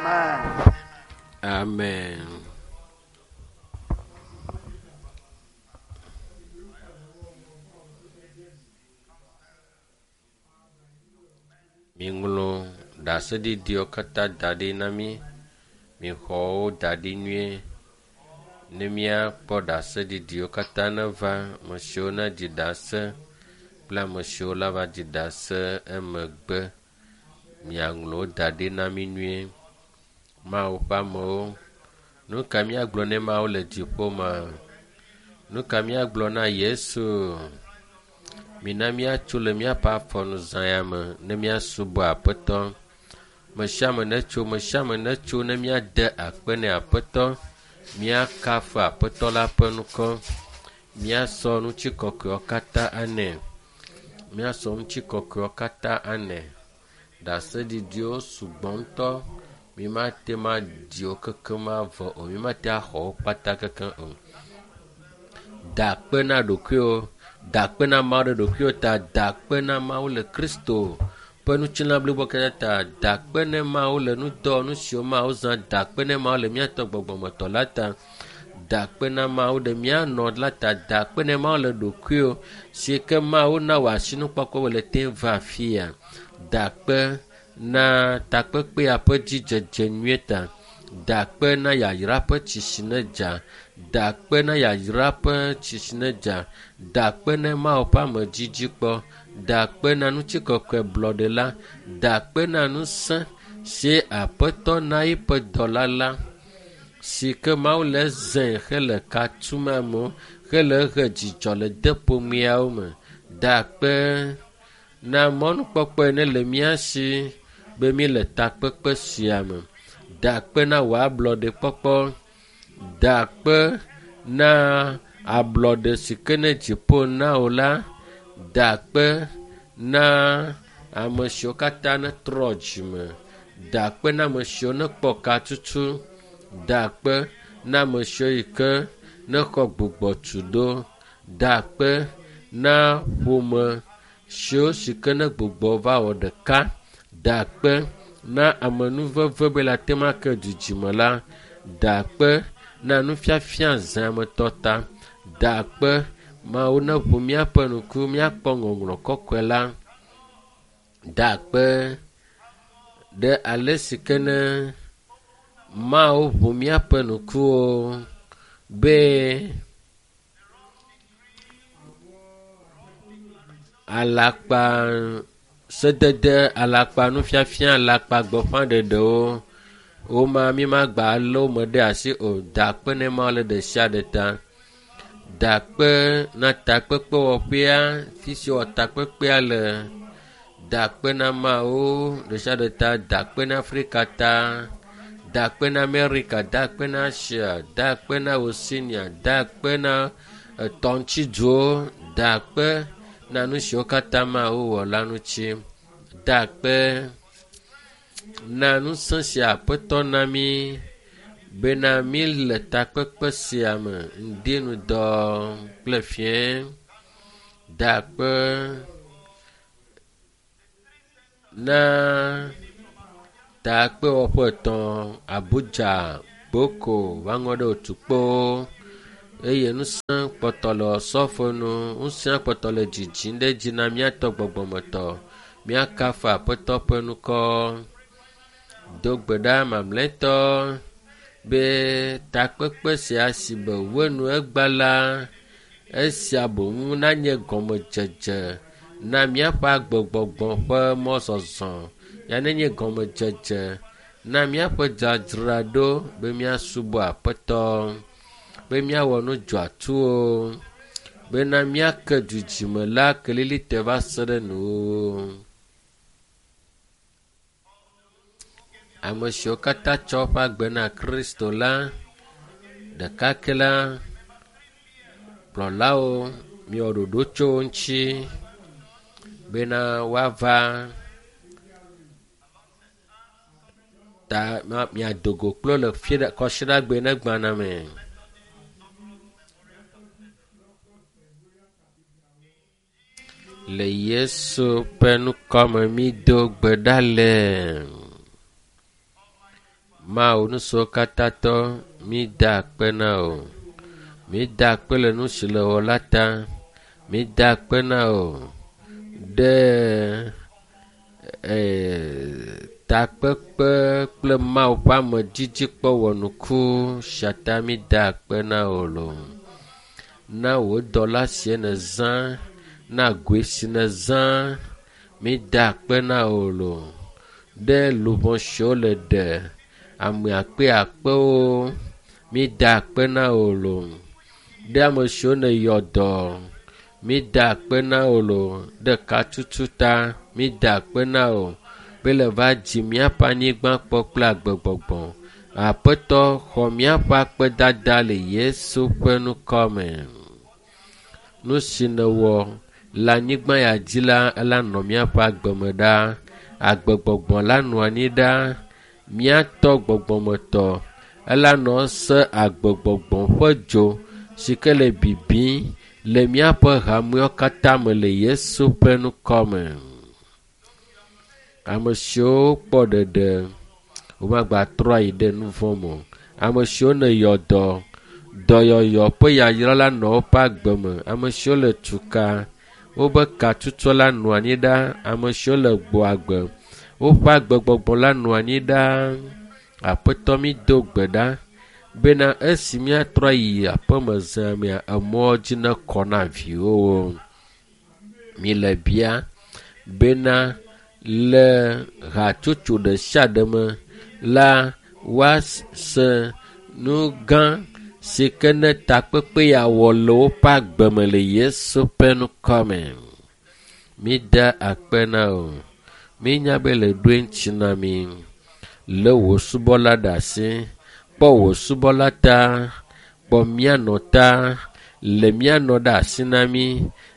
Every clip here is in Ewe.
Amen. Amen. Miŋlɔ ɖaseɖiɖiwo katã da ɖi na mí. Mixɔ wo da ɖi nyuie ne míakpɔ ɖaseɖiɖiwo katã neva. Ame siwo neɖi ɖase kple ame siwo lava ɖi ɖase emegbe. Miaŋlɔ wo da ɖi na mí nyuie. Mawu ƒe amewo, nu ka míagblɔ ne Mawu le dziƒo ma? Nu ka míagblɔ na Yesu? Mina míatso le míaƒe afɔnu zã ya me ne míasubɔ Aƒetɔ. Me sia ame netso, me sia ame netso ne míade akpe ne Aƒetɔ. Míakafu Aƒetɔ la ƒe ŋkɔ. Míasɔ ŋutikɔkɔewo katã anɛ. Míasɔ ŋutikɔkɔewo katã anɛ. Ɖaseɖiɖiwo sugbɔ ŋutɔ. Mímate ŋu adi wo kekem avɔ o. Mímate ŋu axɔ wo kpata kekem o. Da akpe na ɖokuiwò. Da akpe na Mawu ɖe ɖokuiwò ta. Da akpe na Mawu le Kristo ƒe ŋutilã blibo katã ta. Da akpe ne Mawu le nudɔwɔnu siwo Mawu zã. Da akpe ne Mawu le míatɔ gbɔgbɔmetɔ la ta. Da akpe na Mawu ɖe mía nɔ la ta. Da akpe ne Mawu le ɖokuiwò si ke Mawu na wò asinukpɔkpɔ be le te va afia. Da akpe na takpekpea ƒe dzidzedze nyuie ta. Da akpe na yayra ƒe tsi si ne dza. Da akpe na yayra ƒe tsi si ne dza. Da akpe na Mawu ƒe amedzidzikpɔ. Da akpe na ŋutikɔkɔe blɔɖe la. Da akpe na ŋusẽ si Aƒetɔ na eƒe dɔla la si ke Mawu le zãe hele ka tum amewo hele he dzidzɔ le de ƒomeawo me. Da akpe na mɔnukpɔkpɔe ne le mía si be míele takpekpe sia me. Da akpe na wò ablɔɖekpɔkpɔ. Da akpe na ablɔɖe si ke ne dziƒo na wò la. Da akpe na ame siwo katã netrɔ dzime. Da akpe na ame siwo nekpɔ katutu. Da akpe na ame siwo yi ke nexɔ gbugbɔtu ɖo. Da akpe na ƒome siwo si ke ne gbugbɔ va wɔ ɖeka. Da akpe na amenuveve be le ate ŋu ake dzidzime la. Da akpe na nufiafia zãmetɔ ta. Da akpe Mawu neʋu míaƒe ŋku míakpɔ ŋɔŋlɔ kɔkɔe la. Da akpe ɖe ale si ke ne Mawu ʋu míaƒe ŋkuwo be alakpa sedede, alakpa nufiafia, alakpa gbeƒãɖeɖewo woma mímagba lé wo me ɖe asi o. Da akpe ne Mawu le ɖe sia ɖe ta. Da akpe na takpekpewɔƒea, fi si wɔ takpekpea le. Da akpe na Mawu ɖe sia ɖe ta. Da akpe na Afrika ta. Da akpe na Amerika, da akpe na Asia, da akpe na Oceania, da akpe na etɔŋtsiduwo, da akpe na nu siwo katã Mawu wɔ la ŋuti. Da akpe na ŋusẽ si Aƒetɔ na mí bena míle takpekpe sia me ŋdi ŋdɔ kple fiẽ. Da akpe na takpewɔƒe etɔ̃ Abuja, Gboko, va ŋɔ ɖe Otukpo eye ŋusẽ kpɔtɔ le osɔfo nu. Ŋusẽ kpɔtɔ le dzidzim ɖe edzi na míatɔ gbɔgbɔmetɔ. Míakafu Aƒetɔ ƒe ŋkɔ. Do gbe ɖa mamlɛtɔ be takpekpe sia si be wenu egba la, esia boŋ nanye gɔmedzedze na míaƒe agbegbɔgbɔ ƒe mɔzɔzɔ. Ya nenye gɔmedzedze na míaƒe dzadzraɖo be míasubɔ Aƒetɔ, be míawɔ nu dzɔatsuwo, bena míake dudzime la kelilite va se ɖe nuwuwu. Ame siwo katã tsɔ woƒe agbe na Kristo la, ɖekake la, kplɔlawo miwɔ ɖoɖo tso wo ŋuti bena woava ta miado go kple wo le fiɖa kɔsiɖagbe ne gbana me. Le Yesu ƒe ŋkɔme mído gbe ɖa le. Mawu nusiwo katã tɔ, mída akpe na wò. Mída akpe le nu si le wɔ la ta. Mída akpe na wò ɖe takpekpe kple Mawu ƒe amedzidzi kpɔ wɔnuku sia ta mída akpe na wò loo. Na wò dɔla sie nèzã, na goe si nèzã, mída akpe na wò loo ɖe luʋɔ siwo le ɖe ame akpe akpewo, mída akpe na wò loo ɖe ame siwo nèyɔ dɔ, mída akpe na wò loo ɖe katutu ta, mída akpe na wò be le va dzi míaƒe anyigba kpɔ kple agbegbɔgbɔ. Aƒetɔ xɔ míaƒe akpedada le Yesu ƒe ŋkɔ me. Nu si nèwɔ le anyigba ya dzi la, ela nɔ míaƒe agbe me ɖaa. Agbegbɔgbɔ la nɔ anyi ɖaa. Míatɔ gbɔgbɔmetɔ ela nɔ se agbegbɔgbɔ ƒe dzo si ke le bibim le míaƒe hamewo katã me le Yesu ƒe ŋkɔ me. Ame siwo kpɔ ɖeɖe womagatrɔ ayi ɖe nu vɔ̃ me o. Ame siwo neyɔ dɔ, dɔyɔyɔ ƒe yayra la nɔ woƒe agbe me. Ame siwo le tuka, wobe katutu la nɔ anyi ɖaa. Ame siwo le gbɔ agbe, woƒe agbegbɔgbɔ la nɔ anyi ɖaa. Aƒetɔ mi do gbe ɖa bena esi míatrɔ ayi aƒeme zã mea, emɔ dzi nekɔ na viwòwo. Mi le bia bena le hatsotso ɖe sia ɖe me la woase nu gã si ke ne takpekpe ya wɔ le woƒe agbe me le Yesu ƒe ŋkɔ me. Mída akpe na wò. Mínya be le ɖoe ŋuti na mí. Lé wò subɔla ɖe asi. Kpɔ wò subɔla ta. Kpɔ mía nɔ ta. Le mía nɔ ɖe asi na mí.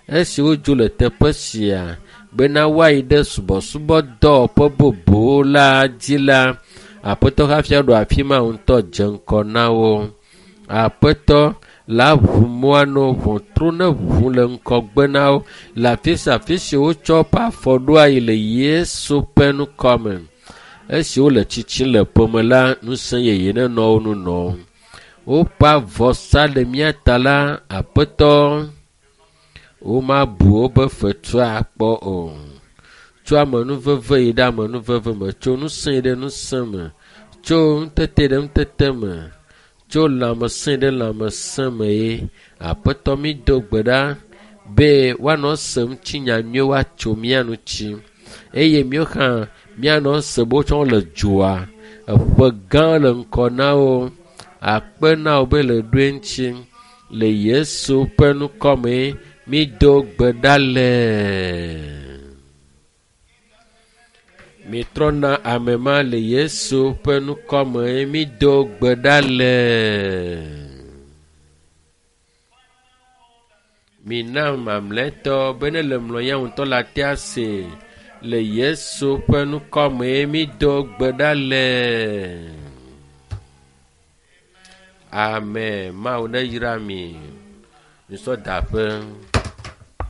Esi wodzo le teƒe sia bena woayi ɖe subɔsubɔdɔwɔƒe bubu la dzi la, Aƒetɔ hafi aɖo afi ma ŋutɔ dze ŋgɔ na wo. Aƒetɔ la ʋu mɔa na wo, ʋɔtru ne ʋu le ŋgɔgbe na wo le afi sia afi si wotsɔ woƒe afɔ ɖo ayi le Yesu ƒe ŋkɔ me. Esi wole tsitsim le ƒeme la, ŋusẽ yeye nenɔ wo ŋu nɔm. Woƒe avɔsa le mía ta la, Aƒetɔ, womabu wobe fetua akpɔ o. Tso amenuveve yi ɖe amenuveve me, tso ŋusẽ yi ɖe ŋusẽ me, tso ŋutete ɖe ŋutete me, tso lãmesẽ ɖe lãmesẽ me ye. Aƒetɔ mi do gbe ɖa be woanɔ se ŋutinya nyuie woatso mía ŋuti eye míawo hã míanɔ se be wotsɔ le dzoa eƒe gã le ŋkɔ na wo. Akpe na wo be le ɖoe ŋuti le Yesu ƒe ŋkɔ me mído gbe ɖa le. Mitrɔ na ame ma le Yesu ƒe ŋkɔ me mído gbe ɖa le. Mina mamlɛtɔ be ne le mlɔ ya ŋutɔ la te ase le Yesu ƒe ŋkɔ me mído gbe ɖa le. Amen. Mawu ne yra mi. Misɔ daƒe.